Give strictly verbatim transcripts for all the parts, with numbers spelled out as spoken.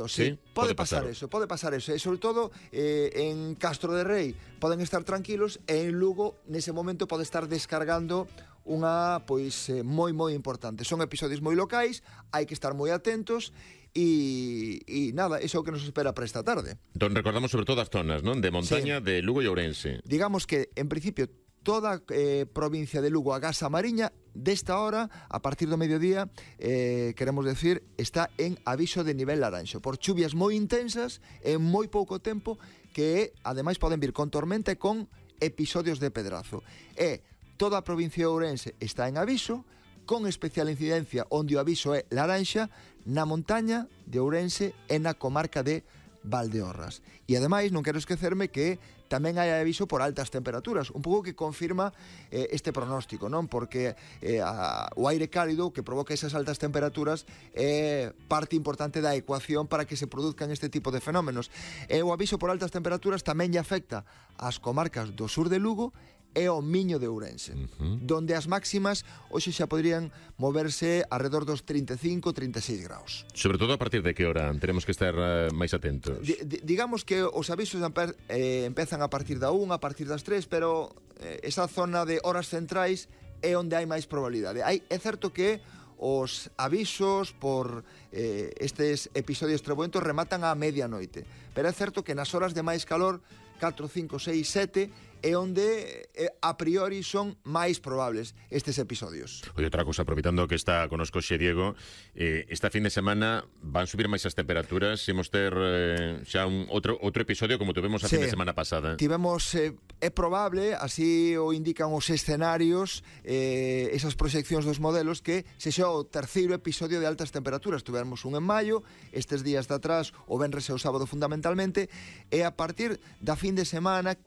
Claro, sí, sí, pode, pode pasar, pasar eso, pode pasar eso, e sobre todo eh, en Castro de Rei poden estar tranquilos e en Lugo nese momento pode estar descargando unha, pois, eh, moi moi importante. Son episodios moi locais, hai que estar moi atentos e, e nada, iso é o que nos espera para esta tarde. Entón recordamos sobre todo as zonas, non? De montaña, sí, de Lugo e Ourense. Digamos que, en principio, toda eh, provincia de Lugo, a Gasa Mariña, desta hora, a partir do mediodía, eh, queremos decir, está en aviso de nivel laranxo, por chuvias moi intensas, en moi pouco tempo, que ademais poden vir con tormenta e con episodios de pedrazo. E toda a provincia de Ourense está en aviso, con especial incidencia onde o aviso é laranxa, na montaña de Ourense e na comarca de Valdeorras. E ademais non quero esquecerme que tamén hai aviso por altas temperaturas, un pouco que confirma eh, este pronóstico, non? Porque eh, a, o aire cálido que provoca esas altas temperaturas é parte importante da ecuación para que se produzcan este tipo de fenómenos. E o aviso por altas temperaturas tamén lle afecta ás comarcas do sur de Lugo e o Miño de Ourense, uh-huh, donde as máximas hoxe xa podrían moverse alrededor dos trinta e cinco, trinta e seis graus. Sobre todo a partir de que hora teremos que estar uh, máis atentos? D digamos que os avisos eh, empezan a partir da unha, a partir das tres, pero eh, esa zona de horas centrais é onde hai máis probabilidade. Hai, é certo que os avisos por eh, estes episodios trebuentos rematan á medianoite, pero é certo que nas horas de máis calor, catro, cinco, seis, sete, é onde eh, a priori son máis probables estes episodios. Oye, outra cosa, aproveitando que está conosco xe Diego, eh, esta fin de semana van subir máis as temperaturas, imos ter eh, xa un outro, outro episodio como tuvemos a sí, fin de semana pasada. Tivemos, eh, é probable, así o indican os escenarios, eh, esas proxeccións dos modelos, que se xa o terceiro episodio de altas temperaturas. Tuvemos un en maio, estes días de atrás, o venres e o sábado fundamentalmente, e a partir da fin de semana,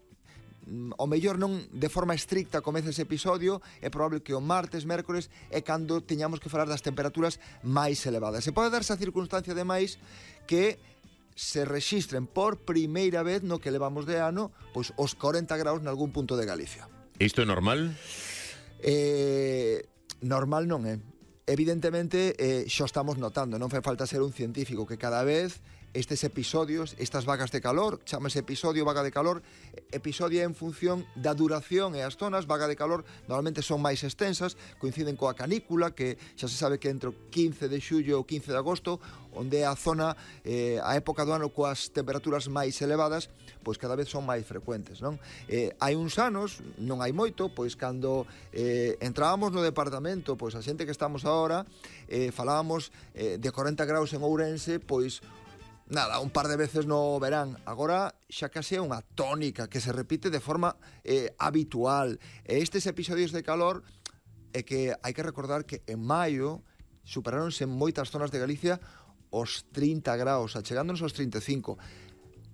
o mellor non de forma estricta comeza ese episodio, é probable que o martes, mércores é cando teñamos que falar das temperaturas máis elevadas. Se pode darse a circunstancia ademais que se rexistren por primeira vez no que levamos de ano pois os corenta graus nalgún punto de Galicia. Isto é normal? Eh, normal non é. Evidentemente, eh, xa estamos notando, non fai falta ser un científico, que cada vez estes episodios, estas vagas de calor, chamase episodio, vaga de calor, episodio en función da duración e as zonas, vaga de calor normalmente son máis extensas, coinciden coa canícula, que xa se sabe que entre o quince de xullo e o quince de agosto, onde é a zona, eh, a época do ano coas temperaturas máis elevadas, pois cada vez son máis frecuentes, non? Eh, hai uns anos, non hai moito, pois cando eh, entrábamos no departamento, pois a xente que estamos agora, eh, falábamos eh, de corenta graus en Ourense, pois nada, un par de veces no verán. Agora xa case é unha tónica que se repite de forma eh, habitual. E estes episodios de calor é que hai que recordar que en maio superaronse en moitas zonas de Galicia os trinta graus, achegándonos aos trinta e cinco.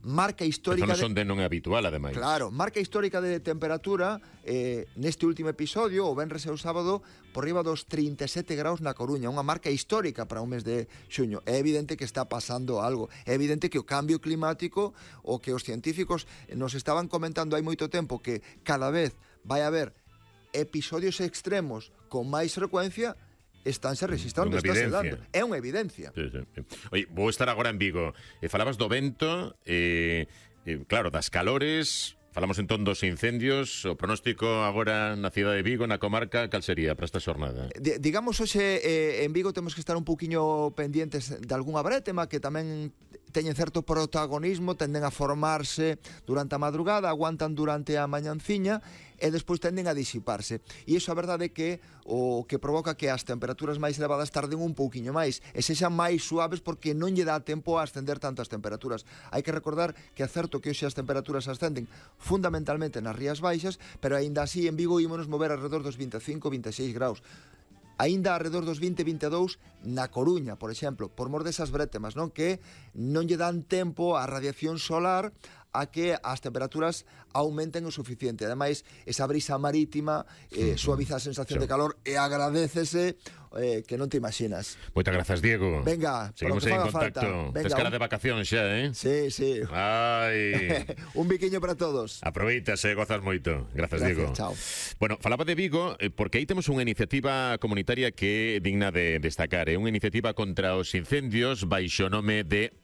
Marca histórica de... son de non é habitual, ademais. Claro, marca histórica de temperatura eh, neste último episodio, o venres e o sábado, por riba dos trinta e sete graus na Coruña, unha marca histórica para un mes de xuño. É evidente que está pasando algo. É evidente que o cambio climático, o que os científicos nos estaban comentando hai moito tempo, que cada vez vai haber episodios extremos con máis frecuencia, estánse registrando, estáse dando. É unha evidencia. Sí, sí, sí. Oye, vou estar agora en Vigo. E falabas do vento, e, e claro, das calores. Falamos entón dos incendios. O pronóstico agora na cidade de Vigo, na comarca, cal sería para esta xornada? D digamos, hoxe eh, en Vigo temos que estar un poquinho pendientes de algunha brétema que tamén teñen certo protagonismo, tenden a formarse durante a madrugada, aguantan durante a mañanciña e despois tenden a disiparse. E iso a verdade é que o que provoca que as temperaturas máis elevadas tarden un pouquiño máis e sexan máis suaves porque non lle dá tempo a ascender tanto as temperaturas. Hai que recordar que é certo que hoxe as temperaturas ascenden fundamentalmente nas Rías Baixas, pero aínda así en Vigo ímonos mover alrededor dos vinte e cinco, vinte e seis graus. Aínda alrededor dos vinte, vinte e dous na Coruña, por exemplo, por mor desas brétemas, non? Que non lle dan tempo á radiación solar a que as temperaturas aumenten o suficiente. Ademais, esa brisa marítima eh, suaviza a sensación sí. de calor e agradécese eh, que non te imaginas. Moitas grazas, Diego. Venga, seguimos en contacto. Tes cara de vacacións xa, eh? Sí, sí. Ai. Un biquiño para todos. Aproveitas e gozas moito. Grazas, Gracias, Diego. Chao. Bueno, falaba de Vigo eh, porque aí temos unha iniciativa comunitaria que é digna de destacar. É unha iniciativa contra os incendios baixo nome de